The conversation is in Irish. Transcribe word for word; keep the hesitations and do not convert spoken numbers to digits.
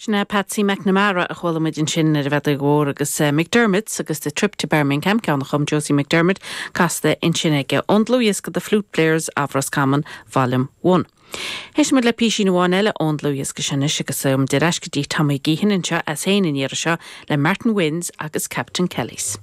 Sin é Patsy McNamara a chuala muid ansin ar an bhfeadóg mhór agus uh, McDermott agus the trip to Birmingham ceann a chum Josie McDermott casta ansin aige ón dlúthdhiosca the Flute Players of Roscommon Volume one. Éistfimid le píosa amháin eile ón dlúthdhiosca sin agus um, ar ais go dtí Tommy Geehan anseo as féin an iarraidh seo le Martin Wynns agus Captain Kelly's.